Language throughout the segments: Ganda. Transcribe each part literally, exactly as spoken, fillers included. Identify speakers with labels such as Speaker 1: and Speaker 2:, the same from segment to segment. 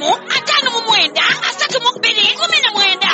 Speaker 1: emu ataano mu mwenda asatu mu bbiri kumi na mwenda.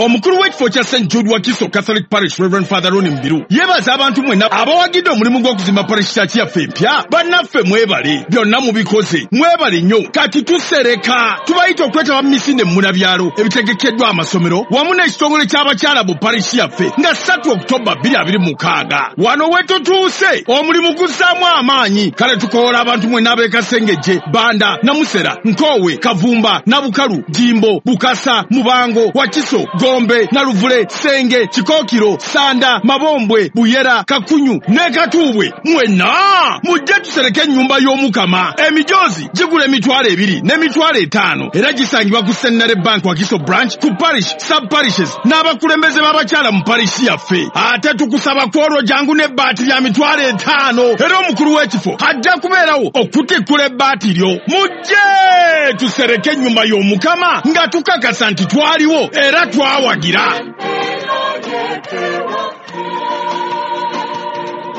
Speaker 2: Omukulu w'ekifo kya Saint Jude Wakiso Catholic Parish, Reverend Father Ronnie Mubiru, yeebaza abantu mwenna abawagidde omulimu gw'okuzimba parish church yaffe empya. Bannaffe mwebale, byonna mubikoze, mwebale nnyo. Kati tusereka, tubayita okwetaba mu misinde munabyalo ebitegekeddwa amasomero wamu n'ekitongole ky'abakyala mu parish yaffe nga ssatu Okutoba bbiri abiri mukaaga. Wano we tutuuse, omulimu guzzaamu amaanyi. Kale tukoola abantu mwenna ab'e Kasengejje, Banda, Namusera, Nkoowe, Kavumba, Nabukalu, Jimbo, Bukasa, Mubango, Wakiso, Gombe, Naluvule, Senge, Kikookiro, Sanda, Mabombwe, Buyera, Kakunyu ne Katuubwe. Mwenna mujje tusereke ennyumba y'Omukama. Emijoozi gigula emitwalo ebiri n'emitwalo etaano era gisangibwa ku Centenary Bank Wakiso Branch, ku parish, sub parishes n'abakulembeze b'abakyala mu parish yaffe. Ate tukusaba kwolwo jangu n'ebbaati lya mitwalo etaano era omukulu w'ekifo ajja kubeerawo okutikkula ebbaati lyo. Mujje tusereke ennyumba y'Omukama nga tukakasa nti twaliwo era twawagira.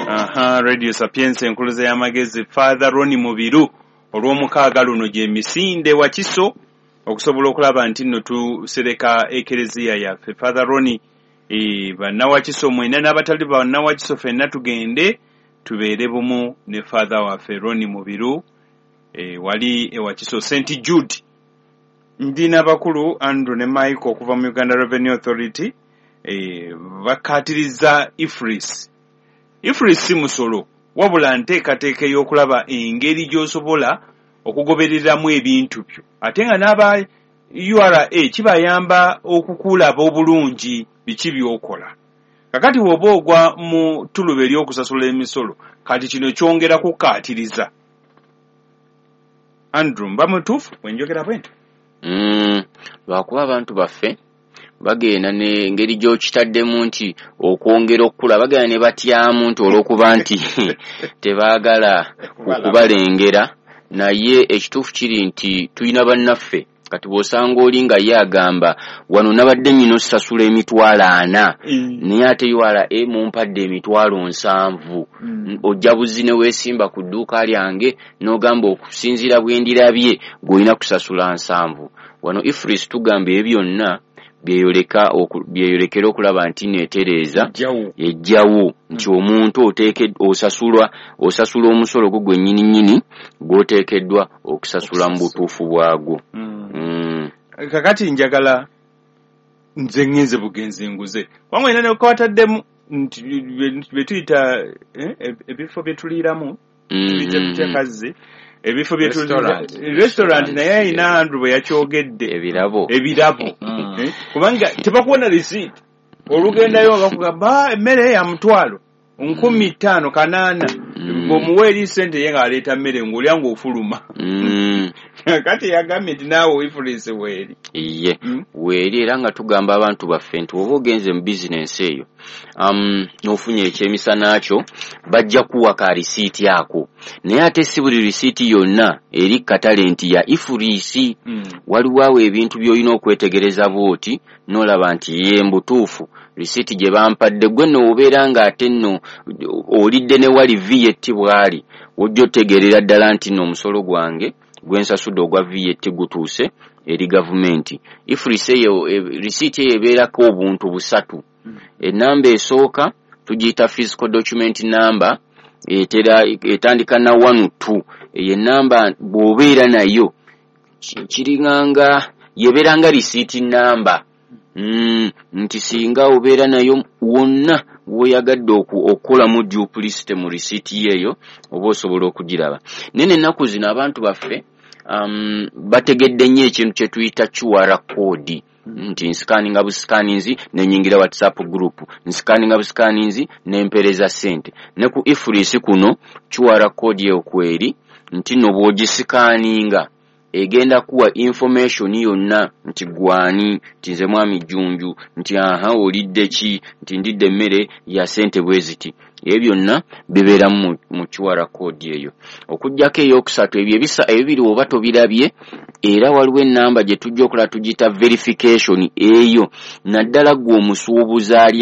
Speaker 3: Aha, Radio Sapienza, enkuluze y'amagezi. Father Ronnie Mubiru, olw'omukaaga luno gy'emisinde Wakiso okusobola okulaba nti nno tusereka ekereziya yaffe. Father Ronnie, e, bannawakiso mwenna n'abatali bannawakiso, ffenna tugende tubeere bumu ne Father waffe Ronnie Mubiru e, wali ewakiso Saint Jude. Ndi n'abakulu Andrew ne Michael okuva mu Uganda Revenue Authority. e, bakkaatiriza EFRIS. EFRIS si musolo, wabula nteekateeka ey'okulaba engeri gy'osobola okugobereramu ebintu byo, ate nga n'aba U R A kibayamba okukulaba obulungi biki by'okola. Kakati bw'oba ogwa mu ttuluba ery'okusasula emisolo, kati kino kyongera kukkaatiriza. Andrew, mba mutuufu bwe njogera bwe nti?
Speaker 4: Mm, lwakuba abantu baffe bagenda n'engeri gy'okitaddemu nti okwongera okukula, bagenda ne batyamu nti olw'okuba nti tebaagala okubalengera. Naye ekituufu kiri nti tulina bannaffe, kati bw'osanga oli nga ye agamba, "Wano nabadde nnyina osasula emitwalo ana, naye ate U R A mumpadde emitwalo nsanvu." Ojja buzi ne weesimba ku dduuka lyange n'ogamba, "Okusinziira bwe ndirabye, gw'olina kusasula nsanvu." Wano EFRIS tugamba ebyo byonna byeyoleka byeyolekera okulaba nti neetereeza, ejjawo nti omuntu oteeke osasulwa osasula omusolo gwo gwennyini nnyini gw'oteekeddwa okusasula mu butuufu bwagwo. Mm.
Speaker 3: Kakati njagala nze ŋŋenze bugenzi nguze, kubanga olina nekwataddemu nti bye tuyita eh, ebifo bye tuliiramu, tubiyita tutya kazzi ebifo bye
Speaker 4: Restaurant.
Speaker 3: Restaurant, naye ayina Andrew bwe yakyogedde.
Speaker 4: Ebirabo.
Speaker 3: Ebirabo. Eh, kubanga tebakuwa receipt, olugendayo bakugamba, "Ah, emmere ya mutwalo nkumi ttaano kanaana." Ng'omuwa eri sente, ye ng'aleeta mmere, ng'olya ng'ofuluma.
Speaker 4: Mm.
Speaker 3: Kati yagambye nti naawe EFRIS weeri.
Speaker 4: Iye.
Speaker 3: Mm.
Speaker 4: Weeri, era nga tugamba abantu baffe nti oba ogenze mu bizinensi eyo, um, n'ofunye ekyemisana kyo, bajja kuwa ka risiiti ako, naye ate si buli risiiti yonna eri katale nti ya EFRIS.
Speaker 3: Mm.
Speaker 4: Waliwo awo ebintu by'olina okwetegereza bw'oti n'olaba nti ye mbutuufu risiiti gye bampadde. Gwe nno obeera ng'ate nno olidde ne wali V A T bw'ali, ojja otegeerera ddala nti nno omusolo gwange gwe nsasudde ogwa V A T gutuuse eri gavumenti. EFRIS eyo, e, risiiti eyo ebeerako obuntu busatu. Enamba esooka tugiyita physical document number, etera etandika na one two. Eyo enamba bw'obeera nayo ki- kiringanga yebeera nga risiiti namba, mm, nti singa obeera nayo wonna w'oyagadde okukolamu duplicity mu risiiti yeeyo, oba osobola okugiraba. Naye n'ennaku zino abantu baffe um, bategedde nnyo ekintu kye tuyita Q R code, nti nsikaninga busikaninzi nenyingira WhatsApp group, nsikaninga busikaninzi nempereza ssente. Ne ku EFRIS kuno Q R code eyo kweri, nti nno bw'ogisikaninga egenda kuwa information yonna nti gwani, nti nze mwami Jjunju, nti aha, olidde ki, nti ndidde emmere ya ssente bwe ziti. Ebyo byonna bibeeramu mu Q R code eyo. Okuggyako eyokusatu, ebyo ebisa ebibiri oba tobirabye, era waliwo ennamba gye tujja okulaba, tugiyita verification. Eyo naddala ggwe omusuubuzi ali